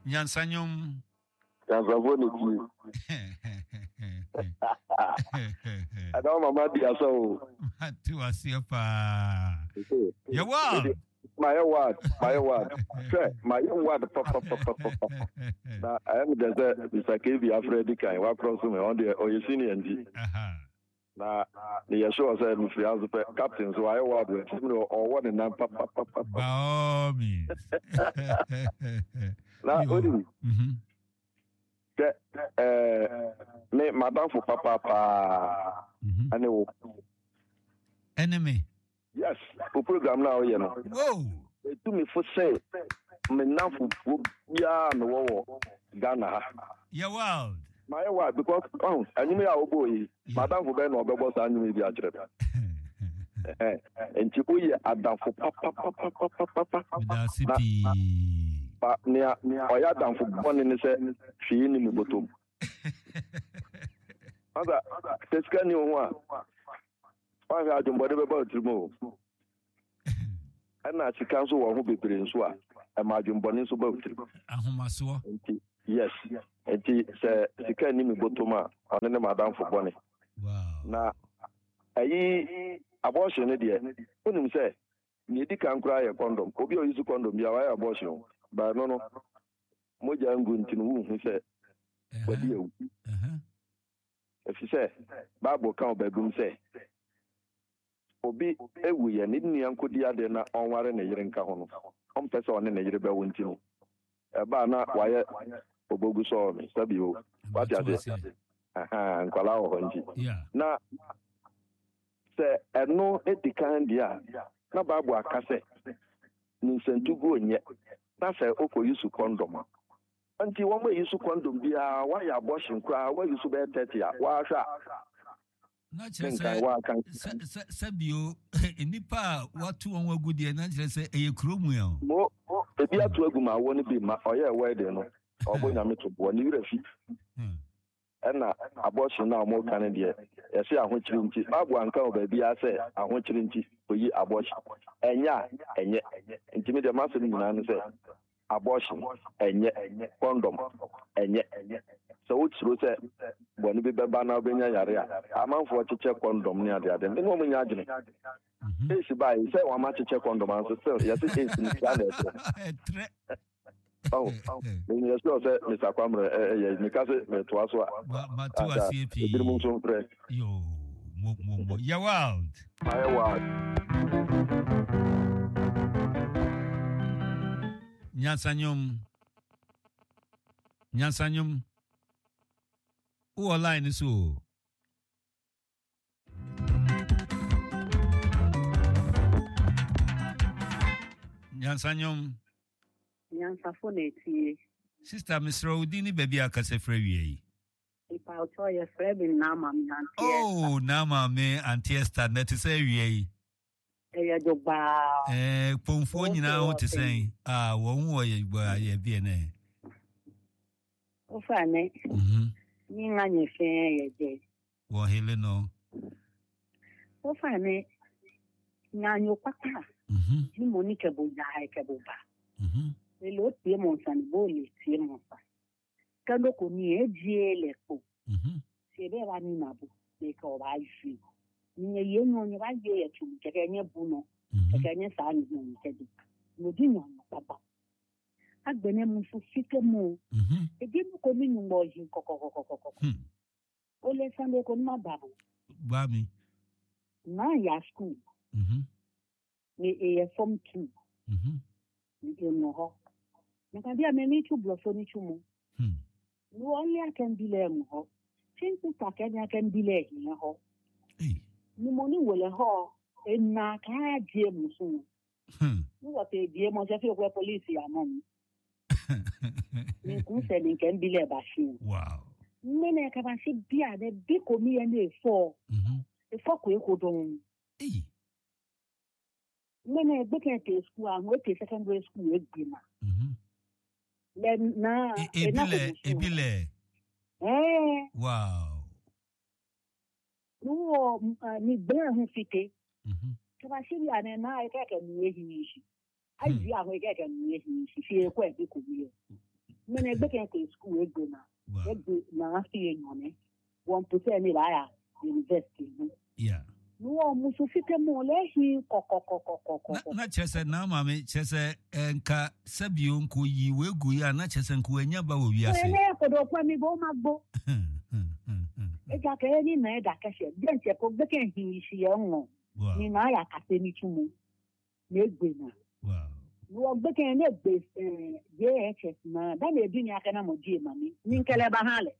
Nyansanyom. Nyansafoɔ na tie. Ɛda wo mama di asa o. Mate waseɛ paa. Yɛ wild. Mayɛ wild, mayɛ wild. Hwɛ, mayɛ wild papapapapa. Na ɛyɛ me dɛ sɛ Mr. KB afrɛ di kan, wakorɔ so me, ɔno deɛ ɔyɛ senior nti. Na meyɛ sure sɛ mefiri ha nso pɛ, captain nso wayɛ wild wɔ akyiri mu ɔwɔ ne nan papapapa. By all means. Na onim sɛ ɛɛ me madamfo papaapaa ɛne wo. Ɛne me. Yes, wo program no a woyɛ no. Whoa. Etu me fo sɛ me nnamfofoɔ biara a mewɔ wɔ Ghana ha. Yɛ wild. Mayɛ wild because ɔho ɛnwom yi a wobɔɔ yi, m'adamfo bɛn na ɔbɛbɔ saa nnwom yi bi akyerɛ me? Nti woyɛ adamfo papapapapapa. Meda ase pii. Na nea ɔyɛ adamfo bɔne ne sɛ hwee nni ne bɔtɔ mu. Masa, sɛ sika nni wo ho a, woanhwɛ adwembɔne bɛba wo tirim o. Ɛna sika nso wɔ ho bebree nso a, ɛma adwembɔne nso ba wo tirim. Ahomasoɔ. Nti, yes. Nti sɛ sika nni me bɔtɔm a, ɔno ne m'adamfo bɔne. Wow. Na ayi abortion no deɛ, wonim sɛ nea edi kan koraa yɛ kɔndɔm. Obi a ɔyi so kɔndɔm biara wayɛ abortion o. But ɛno no, mogya ngu nti no wonhu sɛ wadi awu. Efisɛ Bible ka wɔ baabi mu sɛ, Obi wuiɛ, ne nua nkɔdi adeɛ na ɔnware ne yere nka ho no, ɔmpɛ sɛ ɔne ne yere bɛwo nti no, ɛba a na wayɛ obogu sɔɔ me sɛbi o. Wate aseɛ? Ahaa, nkwadaa wɔ hɔ nti. Na sɛ ɛno di kan deɛ a, na Bible aka sɛ nyinsɛntuguo nyɛ, na sɛ wokɔyi su kɔndɔm a. Nti wɔn ayi so kɔndɔm biara, woayɛ abortion koraa, woayi so bɛyɛ 30 a, woahwɛ a. Na kyerɛ sɛ sɛ bio nnipa a wɔato wɔn agu deɛ na kyerɛ sɛ ɛyɛ kuro mu ɛ. Mo ebi ato agu ma awoɔ no bi ma ɔyɛ wedding no ɔbɔ nyame to boɔ ne werɛ fi. Ɛna abortion no a wɔka no deɛ, yɛse ahokyere nti. Bible anka wɔ baabiara sɛ ahokyere nti oyi abortion. Ɛnyɛ a, ɛnyɛ. Nti me deɛ m'asɛm nyinaa ne sɛ abortion ɛnyɛ, condom ɛnyɛ. Sɛ wosuro sɛ bɔne bi bɛba na wobɛnya yare a, amanfoɔ kyekyɛ condom ne adeade. Me ne wɔn nyɛ adwene. AIDS bae sɛ wɔama kyekyɛ condom anso still yɛse AIDS no saa na ɛtrɛ. Oh, menyɛ sure sɛ Mr. Kwamre ɛyɛ meka sɛ metoa so a. Mato aseɛ pii. Ebinom nso mfrɛ. Yo, mo mo mo. Yɛ wild. Ayɛ wild. Nyansanyom. Nyansanyom. Wowɔ line so o. Nyansanyom. Nyansafo na etie. Sister, mesrɛ wo din ne baabi a kasa firi awia yi. Mpaotɔ yɛfrɛ me Naama me Auntie Esther. Oh, Naama me Auntie Esther, na ɛte sɛ awia yi. Ɛyɛ dwogbaa. Eh, kpɔnfoɔ nyinaa ho te sɛn? Ah, wɔn ho yɛ gbaa yɛ bi ɛnɛ. Wofa ne. Mhm. Ni nga nye fɛn yɛ jɛ. Wɔ hele no. Wofa ne nga nyo kpakpa. Mhm. Ni mo ni kɛbo ya kɛbo ba. Mhm. Ele o tie mo nsa ni bo le tie mo nsa. Kendo ko ni e jie le kpo. Mhm. Si ebe ba ni na bo. Le ka o ba ju. Ni ye ye nyo nye ba ye ye tu keke nye bu no. Mhm. Keke nye sa ni no keke. Mo di nyo kpakpa. Agbene mu fu fike mu. Mhm. Ebi mu ko mi nyumbo yi kokokokokoko. O le sande ko ma babo. Ba mi. Na ya school. Mhm. Me e ye form 2. Mhm. Me e no ho. Me ka bia me ni chu blofo ni chu mu. Hmm. No only I can be le mu ho. Chin sister ke ni I can be le hi ho. Hey. Ni mo ni wele ho. E na ka die mu so. Hmm. Ni wo te die mo se fi okwe police ya mo. Ni ku se ni ke bi le ba shi. Wow. Nne ka ba si bia ne bi ko mi ye na efo. Mhm. Efo ko e ko don. Hey. Nne egbe ke te school ahun e te secondary school e gbe ma. Mhm. Le na E ebile ebile. Eh. Wow. No wo ni gbe hun fite. Mhm. Ka ba si bia ne na e ke ke mi e hi shi. Ai bi ahun e ke ke mi e hi shi. Fi e ko e bi ko mi ye. Egbe kɛ kɛ school egbe na. Egbe na afi enyane. Wɔn pese ne ba ya university no. Yeah. No wɔn musu fite mo le hi kɔkɔkɔkɔkɔkɔ. Na kyerɛ sɛ na maame kyerɛ sɛ nka sɛbio nko yi wegu yi a na kyerɛ sɛ nko anya ba wɔ wiase. Ɛnɛ kɔdɔ kwa mi bo ma gbo. Eja kɛ ni na ɛda kɛseɛ dɛnkyɛ ko gbɛkɛ hi si yɛ ŋɔ. Ni na ya kase ni tumu. Na egbe na. Wɔ gbɛkɛ ne egbe JHS na da na ebi ni akɛ na mo die mami. Ni nkɛlɛ ba ha lɛ.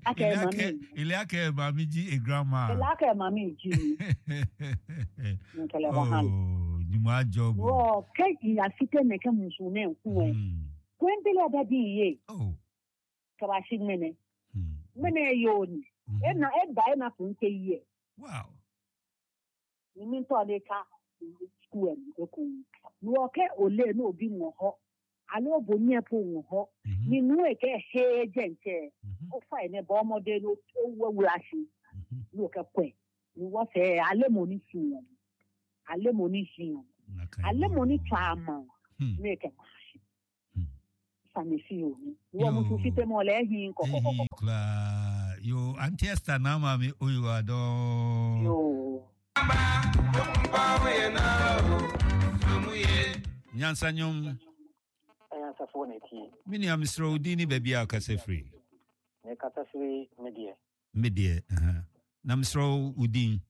Akɛ mami. Ile akɛ mami ji e grandma. Ile akɛ mami ji ni. Nkɛlɛ ba ha lɛ. Oh, nyuma job. Wɔ kɛ iya fite ne kɛ musu ne nkuwe. Kwembele da di ye. Oh. Kabasi mene. Mene yoni. Ena eba ena kunte ye. Wow. Ni ntɔ de ka school mu ekun. Wɔ kɛ ole no obi ŋɔ hɔ. Ale obo nye po ŋɔ hɔ. Ni nu eke he jɛnkyɛ. O fa ene bɔ ɔmɔde no o wura si. Ni o kɛ kɔɛ. Ni wɔ fɛ ale mo ni si wɔn. Ale mo ni si wɔn. Ale mo ni twa ama. Ni eke ma si. Sami fi o. Wɔ musu fi te mɔ lɛ hin kɔkɔkɔkɔ. Kura yo Auntie Esther na maame oyo adɔ. Yo. Nyansa nyom. Nyansafo na etie. Me nua mesrɛ wo din ne baabi a wokasa firi. Mekasa firi me deɛ. Me deɛ, na mesrɛ wo din.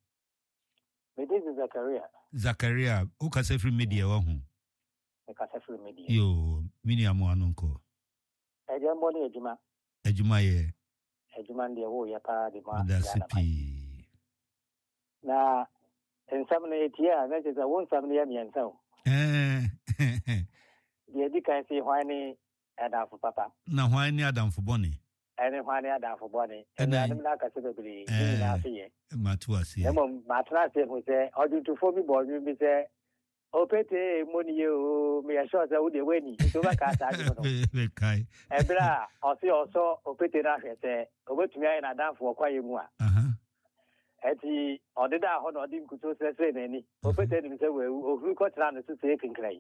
Me din de Zakaria. Zakaria, wokasa firi me deɛ wahu. Mekasa firi me deɛ. Yo, me nua mo ano nkɔ. Ɛdeɛ mbɔ ne adwuma. Adwuma yɛ. Adwuma no deɛ woyɛ paa de ma. Medase pii. Na nsɛm no yɛtie a na kyerɛ sɛ wo nsɛm no yɛ mmiɛnsa o. Deɛ ɛdi kan sɛ hwan ne adamfo papa? Na hwan ne adamfo bɔne? Ɛne hwan ne adamfo bɔne? Anuanom no akasa bebree, ne nyinaa so yɛ. Mato aseɛ. Na mmom matena ase hu sɛ ɔdwontofoɔ bi bɔɔ nnwom bi sɛ opete mmɔ ne yie o, meyɛ sure sɛ wo deɛ woani nti wobɛkaa saa nnwom no. Mekae. Ɛberɛ a ɔse ɔsɔ opete no ahwɛ sɛ ɔbɛtumi ayɛ n'adamfo wɔ kwaeɛ mu a. Enti ɔdedaa hɔ na ɔde nkutoo srɛsrɛɛ n'ani. Opete nim sɛ wawu. Ohuru kɔtenaa ne so sɛɛ kinkran.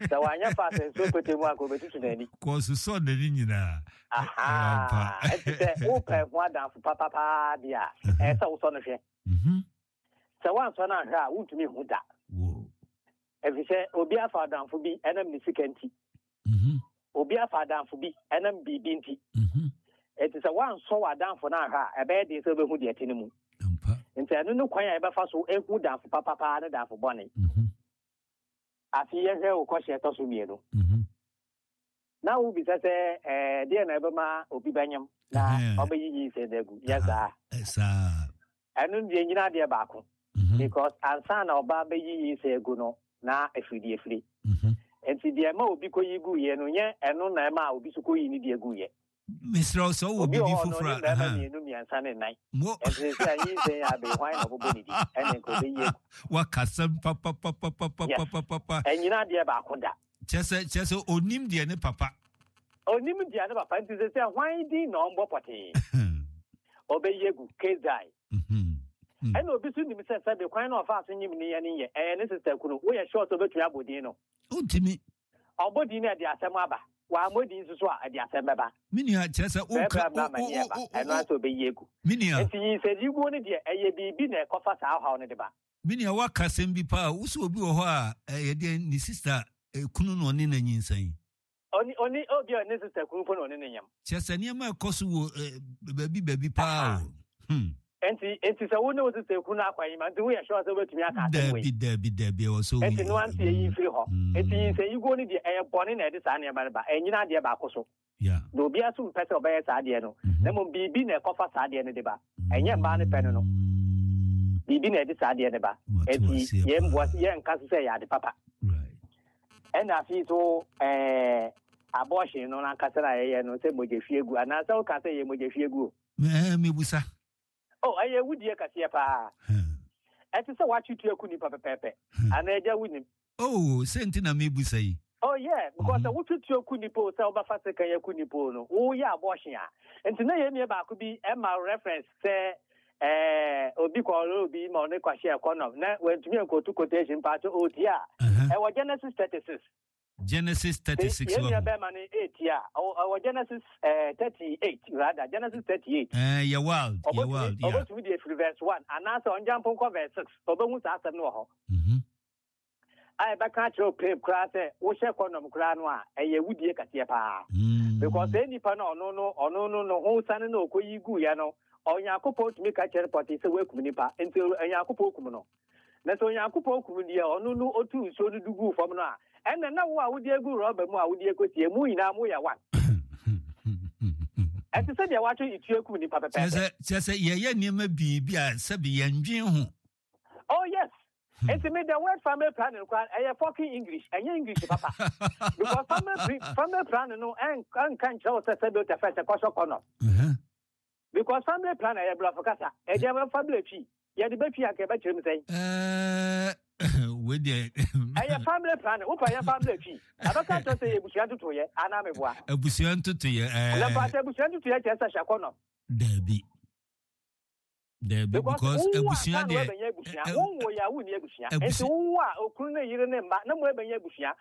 Sɛ wanyɛ fast ansu opete mu a, anka obetutu n'ani. Kɔsosɔɔ n'ani nyinaa. Ahaa. Enti sɛ wopɛ ho adamfo papa paa deɛ a, ɛyɛ sɛ wosɔ no hwɛ. Sɛ woansɔ no anhwɛ a, wuntumi nhu da. Efisɛ obi afa adamfo bi ɛnam ne sika nti. Obi afa adamfo bi ɛnam biribi nti. Enti sɛ woansɔ w'adamfo no anhwɛ a, ɛbɛyɛ den sɛ wobɛhu deɛ ɛte no mu. Nti ɛno ne kwan a yɛbɛfa so ahu damfo papa paa ne damfo bɔne. Afei yɛhwɛ wo kɔhyɛ ɛtɔ so mmienu. Na wobisa sɛ ɛɛ deɛ na ɛbɛma obi bɛnyem na ɔbɛyi nyinsɛn no agu. Nyɛ saa. Saa. Ɛno deɛ nyina adeɛ baako. Because ansa na ɔbaa bɛyi nyinsɛn agu no na ɛfiri deɛ ɛfiri. Nti deɛ ɛma obi kɔyi guiɛ no nyɛ ɛno na ɛma obi so kɔyi ne deɛ guiɛ. Mesrɛ wo sɛ wowɔ biribi foforɔ a. Obi wɔ hɔ no ɔne mmarima mmienu mmiɛnsa ne nnan. Nti sɛ nyinsɛn yɛ abee hwan na ɔbɛbɔ ne din ɛne nka ɔbɛyi agu. Wakasɛm papapapapapapa. Ɛnyina adeɛ baako da. Kyerɛ sɛ kyerɛ sɛ onim deɛ ne papa. Onim deɛ ne papa nti sɛ sɛ hwan din na ɔmbɔ pɔtee. Ɔbɛyi agu case die. Ɛna obi so nim sɛ sɛbe kwan na ɔfaa so nyim ne yɛ ne yɛ ɛyɛ ne sister kunu woyɛ sure sɛ ɔbɛtumi abɔ din no. Ontumi. Ɔbɔ din no ɛde asɛm aba. Wammɔ din nso so a ɛde asɛm bɛba. Me nua kyerɛ sɛ woka o o o ɛno ara sɛ ɔbɛyi agu. Me nua. Nti nyinsɛnyiguo no deɛ ɛyɛ biribi na ɛkɔfa saa ɔhaw no de ba. Me nua woaka asɛm bi paa wo sɛ obi wɔ hɔ a ɛyɛ deɛ ne sister kunu na ɔne no anyinsɛn. Ɔne ɔne obi a ne sister kunu mpo na ɔne no nyam. Kyerɛ sɛ nneɛma ɛkɔ so wɔ baabi baabi paa o. Hmm. Nti nti sɛ wo ne wo sister kunu akɔ anyima nti woyɛ sure sɛ wobɛtumi aka asɛm wei. Dabi dabi dabi ɛwɔ sɛ woyi. Nti no ante eyi mfiri hɔ. Nti nyinsɛnyiguo no deɛ ɛyɛ bɔne na ɛde saa nneɛma no ba. Ɛnyina adeɛ baako so. Yeah. Na obiara nso mpɛ sɛ ɔbɛyɛ saa adeɛ no. Na mmom biribi na ɛkɔfa saa adeɛ no de ba. Ɛnyɛ mmaa no pɛ no no. Biribi na ɛde saa adeɛ no ba. Enti yɛn yɛnka so sɛ ɛyɛ ade papa. Ɛna afei so ɛɛ abortion no ankasa na yɛyɛ no sɛ mogyahwie gu anaasɛ woka sɛ ɛyɛ mogyahwie gu o. Ɛɛ mebusa. Oh, ɛyɛ awudie kɛseɛ paa. Ɛte sɛ woatwe tuo aku nipa pɛpɛɛpɛ. Anaa agya wonim. Oh, sɛ nti na mebusa yi. Oh yeah, because sɛ wotwe tuo ku nipa o, sɛ wobɛfa sekan aku nipa o no, woyɛ abortion a. Nti na yɛn nua baako bi ma reference sɛ eh, obi kɔɔre obi ma ɔne kɔhyɛɛ condom na wantumi ankotu quotation mpakyɛ ɔretie a. Ɛwɔ Genesis 36. Genesis 36 Yɛn nua bɛrima no ɛreti a, ɔwɔ Genesis 38 rather, Genesis 38. Yɛ wild, yɛ wild, yeah. Ɔbɛtumi de afiri verse 1 anaasɛ ɔngya mpo nkɔ verse 6, ɔbɛhu saa asɛm no wɔ hɔ. A ɛbɛka akyerɛ wo pɛn koraa sɛ wohyɛ kɔndɔm koraa no a, ɛyɛ wudie kɛseɛ paa. Because saa nipa no ɔno no, ɔno no, ne ho sane na ɔkɔyi guiɛ no, Onyankopɔn tumi ka kyerɛ no pɔtee sɛ woakum nipa, nti Onyankopɔn kum no. Na sɛ Onyankopɔn kum deɛ ɔno no ɔtuu nsuo no de guu fam no a, ɛnna na wo a wode agu rɔba mu a wode akɔsie, mo nyinaa moyɛ one. Ɛte sɛ deɛ wɔatwe etuo akum nnipa pɛpɛɛpɛ. Kyerɛ sɛ yɛyɛ nneɛma biribi a sɛbi yɛndwen ho. Oh yes. Nti me the word family planning koraa ɛyɛ fucking English, ɛnyɛ English papa. Because family family planning no ɛnka nkyerɛ wo sɛ sɛbi wotɛ fɛ sɛ kɔsɔ kɔnɔm. Because family planning ɛyɛ brɔfo kasa. Ɛdeɛ bɛfa bla twi. Yɛde bɛtwi anka ɛbɛkyerɛ mu sɛn? Wei deɛ. Ɛyɛ family planning. Wopɛ yɛn family twi. Ɛbɛka kyerɛ sɛ yɛ abusua ntotoyɛ anaa meboa. Abusua ntotoyɛ. Na mpakyɛ abusua ntotoyɛ kyerɛ sɛ hyɛ kɔnɔm. Daabi. Daabi because abusua deɛ. Wonwo yɛ a wonni abusua. Nti wowo a okunu ne yere ne mma na mo abɛnya abusua.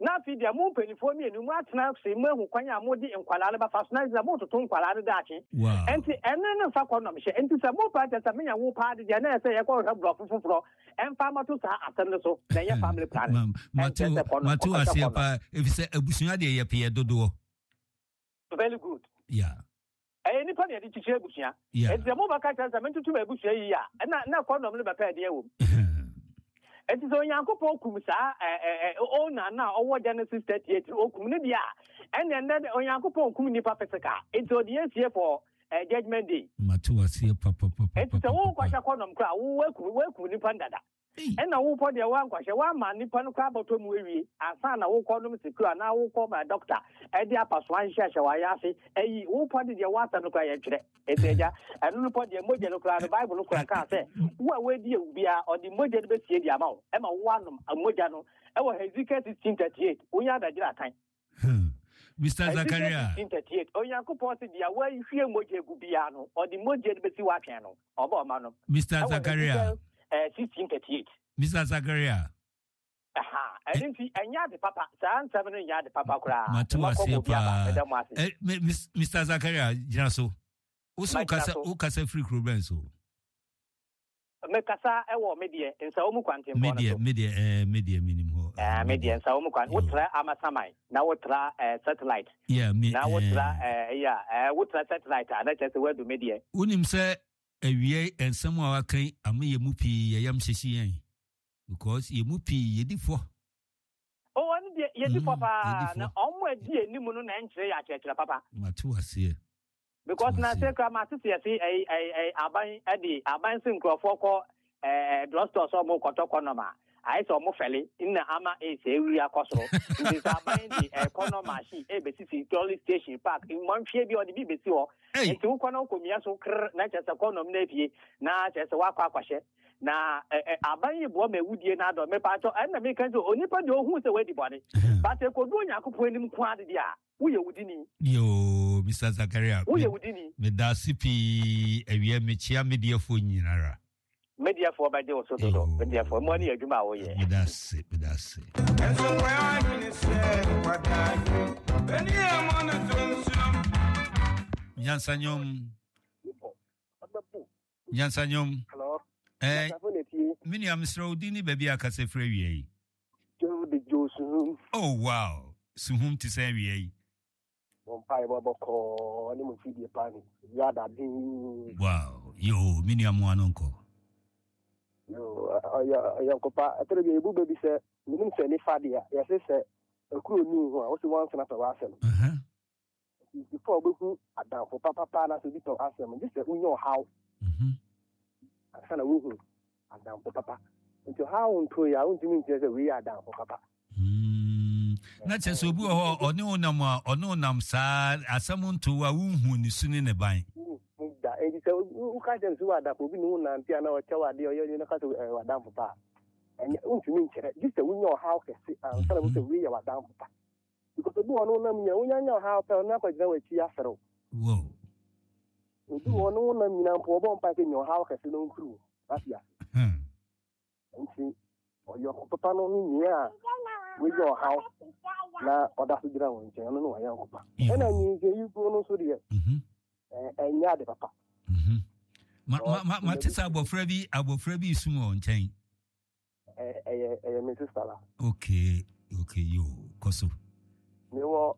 Na afei deɛ mo mpanimfoɔ mmienu mo atena ase mo ahu kwan a mode nkwadaa no bɛfa so na sɛ mototo nkwadaa no daakye. Nti ɛno no mfa kɔndɔm hyɛ. Nti sɛ mo paa kyɛ sɛ menya wo paa de deɛ na ɛsɛ yɛkɔhwehwɛ borɔfo foforɔ ɛmfa mmɛto saa asɛm no so na ɛnyɛ family planning. Ɛnkyerɛ sɛ kɔndɔm Mate kɔhwɛ aseɛ kɔndɔm. paa efisɛ abusua deɛ yɛpɛ yɛ dodoɔ. Very good. Yeah. Ɛyɛ nipa na yɛde kyekyere abusua. Yeah. Enti sɛ mobɛka kyerɛ sɛ mentoto m'abusua yiye a, ɛna na kɔndɔm no bɛpɛ ɛdeɛ wom. Enti sɛ Onyankopɔn kum saa ɛ ɛ ɛ Onan no a ɔwɔ Genesis 38 no, okum no deɛ a, ɛnneɛ nnɛ de Onyankopɔn nkum nnipa physical. Enti ɔde yɛn sie for eh, judgment day. Mate waseɛ papapapapapa. Enti sɛ wokɔhyɛ kɔndɔm koraa a, wo woakum woakum nipa no dada. Ɛna wokɔ deɛ woankɔhyɛ, woama nipa no koraa abɔtɔ mu awie ansa na wokɔ nom secure anaa wokɔ ma doctor ɛde apasoa nhyehyɛ wayɛ ase ayi wopɔ de deɛ woasɛm no koraa yɛntwerɛ. Enti agya, ɛno no pɔ deɛ mogya no koraa no Bible no koraa kaa sɛ wo a woadi awu biara ɔde mogya no bɛsie de ama wo ɛma woanom mogya no ɛwɔ Hezekiel 16:38 wonya adagyina akan. Mr. Zakaria. Ezekiel 16:38 Onyankopɔn se deɛ wahwie mogya agu biara no ɔde mogya no bɛsi w'atwɛn no ɔba ɔma no. Mr. Zakaria. Ɛwɔ Ezekiel 16:38. Mr. Zakaria. Ɛno nti ɛnyɛ ade papa saa nsɛm no nyɛ ade papa koraa. Mate waseɛ paa. Mr. Zakaria gyina so. Wo so wokasa firi kuro bɛn so? Mekasa wɔ me deɛ nsawo mu kwantempɔn no so. Me deɛ ɛɛ me deɛ menim hɔ. Ɛɛ me deɛ nsawo mu kwan. Wotra Amasaman na wotra ɛɛ satellite. Yeah me Na wotra ɛɛ ɛyɛ a ɛɛ wotra satellite a na kyerɛ sɛ woadu me deɛ. Wonim sɛ awiei nsɛm a waka yi ama yɛn mu pii yɛn yam hyehye yɛn because yɛn mu pii yɛdi fɔ. Oh ɔno deɛ yɛdi fɔ paa na wɔn a ɛdi anim no na ɛnkyerɛ yɛ akyerɛkyerɛ papa. Mate waseɛ. Because na se kura ma sisi yɛsi ɛyi ɛyi ɛyi aban ɛde aban si nkurɔfoɔ kɔ ɛɛ drugstore sɛ ɔmo kɔtɔ kɔnɔm a ayɛ sɛ ɔmo fɛle nna ama AIDS awuri akɔ soro nti sɛ aban de ɛɛ kɔnɔm machine ɛbɛsisi trolley station park mmɔnhweɛ bi ɔde bi bɛsi hɔ nti wokɔ na wokɔ mia so krr na kyerɛ sɛ kɔnɔm no apue na kyerɛ sɛ wakɔ akɔhyɛ na ɛ aban yi boa ma awudie no adɔ mepaatɔ ɛnna meka sɛ onipa deɛ ɔhu sɛ wadi bɔne but ɛkɔdu Onyankopɔn anim nko ade deɛ a Woyɛ wudini. Yoo Mister Zakaria. Woyɛ wudini. Medase pii awia mekyia mediafoɔ nyinara. Mediafoɔ bɛgye wo so dodo. Mediafoɔ mmoa ne yɛ adwuma a woyɛ. Medase medase. Nyansanyom. Nyansanyom. Eh, me nua mesrɛ wo din ne baabi a kasa firi awia yi. Oh wow, suhum te sɛ awia yi. Wow, yo, me nua mo ano nkɔ. Yo, ɔyɔnkopa, ɛtɔrɔ bi ebu bɛ bi sɛ, menim sɛ nifa deɛ, yɛse sɛ akuro ni ho a, wose wansena pɛ w'asɛm. Before wobɛhu adamfo papapa anaasɛ obi tɔ asɛm, gye sɛ wonya ɔhaw ansa na wohu adamfo papa. Nti ɔhaw nto yɛ a, wontumi nkyerɛ sɛ wei yɛ adamfo papa. Na kyerɛ sɛ obi wɔ hɔ ɔne wo nam a ɔne wo nam saa asɛm nto a wonhu ne su ne ne ban. Da nti sɛ woka kyerɛ no sɛ wɔ adamfo obi ne wo nante a na ɔkyɛ wo adeɛ ɔyɛ no ka sɛ ɛyɛ w'adamfo pa a, ɛnyɛ wontumi nkyerɛ gye sɛ wonya ɔhaw kɛse ansa na wohu sɛ wei yɛ w'adamfo pa. Because obi wɔ no wonam nyina wonya nya ɔhaw pɛ ɔno akɔgyina w'akyi aserew. Wow. Obi wɔ no wonam nyina mpo ɔbɔ mpa sɛ nya ɔhaw kɛse na ɔmfiri wo afi ase. Nti ɔyɔnko papa no ne nea a wanya ɔhaw. na ɔda so gyina wo nkyɛn, ɔno ne w'ayɔnko pa. Ɛna nyinsɛn yi guo no nso deɛ, ɛnyɛ ade papa. Mate sɛ abɔfra bi abɔfra bi sum wɔ nkyɛn. Ɛyɛ ɛyɛ me sister la. Okay, okay, yo, kɔ so. Mewɔ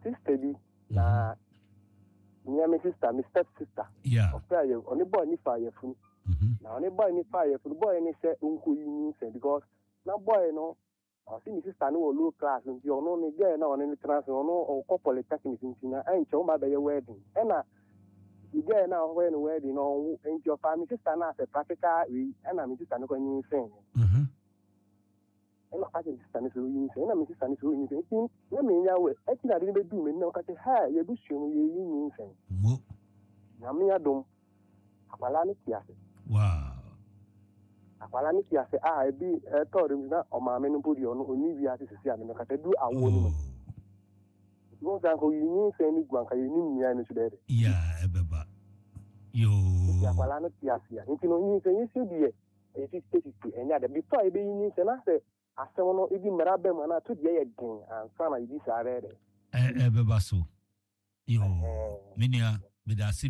sister bi na nea me sister, me step sister. Yeah. Ɔfɛ yɛ ɔne boy ni fa yɛ funu. Na ɔne boy ni fa yɛ funu. Boy ni sɛ nko yi nyinsɛn because na boy no ɔse ne sister no wɔ low class nti ɔno ne girl na ɔne no tena ase ɔno ɔkɔ polytechnic nti na ɛnkyɛ wɔn ba bɛyɛ wedding ɛna ne girl na ɔkɔyɛ no wedding no ɔnwo nti ɔfaa me sister no asɛ practical wei ɛna me sister no kɔ nyinsɛn ɛna ɔka kyerɛ me sister no sɛ ɔnyinsɛn ɛna me sister no sɛ ɔnyinsɛn nti na menya wɛ ɛti na ade no bɛduu m'ani na ɔka kyerɛ ha yɛbusua mu yɛyi nyinsɛn. Nyame adom Akwadaa no te ase. Wow. Akwadaa no te ase a ebi ɛtɔ de na ɔmaame no mpo deɛ ɔno ɔnni wiase sisi a mene kasa du awoɔ no mu. Oh. Nti wɔn sɛ anka oyi nyinsɛn no gu anka yɛnim nua no so bɛyɛ dɛ. Yeah, ɛbɛba. Yoo. Nti akwadaa no te ase a nti no nyinsɛn yi so deɛ ɛyɛ 50-50 ɛnyɛ ade before a yɛbɛyi nyinsɛn na sɛ asɛm no ebi mmara bɛ mu anaa to deɛ yɛ den ansa na yɛbi saa bɛyɛ dɛ. Ɛbɛba so. Yoo. Me nua, meda ase.